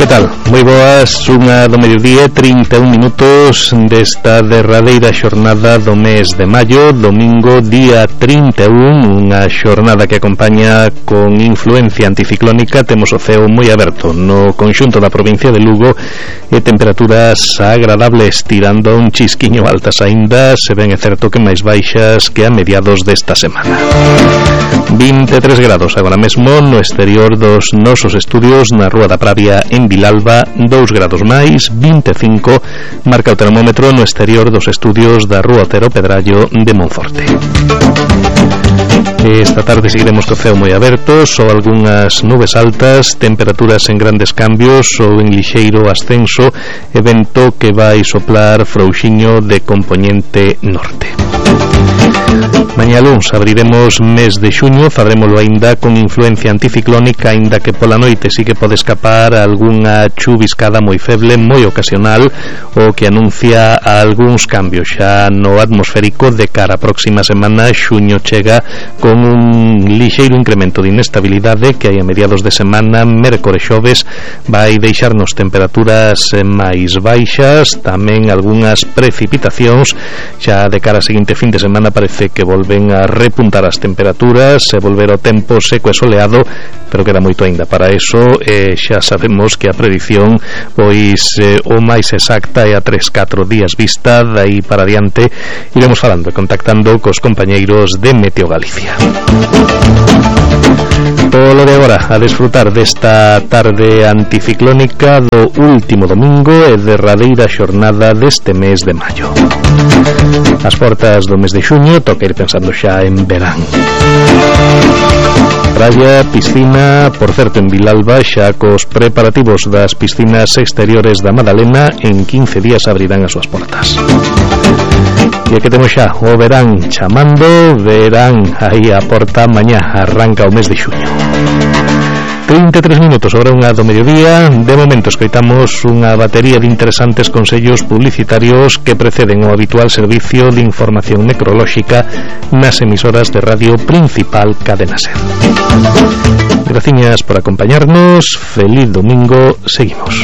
Que tal? Moi boas, unha do mediodía, 31 minutos desta derradeira xornada do mes de maio, domingo día 31, unha xornada que acompaña con influencia anticiclónica. Temos o ceo moi aberto no conxunto da provincia de Lugo e temperaturas agradables tirando un chisquiño altas aínda, se ben é certo que máis baixas que a mediados desta semana. 23 grados agora mesmo no exterior dos nosos estudios na Rúa da Pravia en Vilalba, 2 grados máis, 25 marca o termómetro no exterior dos estudios da Rúa Otero Pedrallo de Monforte. Esta tarde seguiremos co ceo moi aberto, só algunhas nubes altas, temperaturas en grandes cambios ou en lixeiro ascenso e vento que vai soplar frouxiño de compoñente norte. Mañá luns abriremos mes de xuño, farémolo aínda con influencia anticiclónica, aínda que pola noite sí que pode escapar algunha chuviscada moi feble, moi ocasional, o que anuncia algúns cambios xa no atmosférico de cara a próxima semana. Xuño chega con un lixeiro incremento de inestabilidade que hai a mediados de semana, mércores xoves, vai deixarnos temperaturas máis baixas, tamén algunhas precipitacións. Xa de cara a seguinte fin de semana parece que volven a repuntar as temperaturas e volver o tempo seco e soleado, pero queda moito aínda para eso. Xa sabemos que a predición pois o máis exacta é a 3-4 días vista. Dai para adiante iremos falando e contactando cos compañeiros de Meteo Galicia. Polo de agora, a desfrutar desta tarde anticiclónica do último domingo e derradeira xornada deste mes de maio. As portas do mes de xuño toca ir pensando xa en verán. Praia, piscina, por certo en Vilalba xa cos preparativos das piscinas exteriores da Madalena, en 15 días abrirán as súas portas. E que temos xa o verán chamando, verán aí a porta, mañá arranca o mes de xuño. 33 minutos sobre unha do mediodía. De momento escoitamos unha batería de interesantes consellos publicitarios que preceden o habitual servicio de información meteorolóxica nas emisoras de radio principal Cadena Ser. Graciñas por acompañarnos, feliz domingo, seguimos.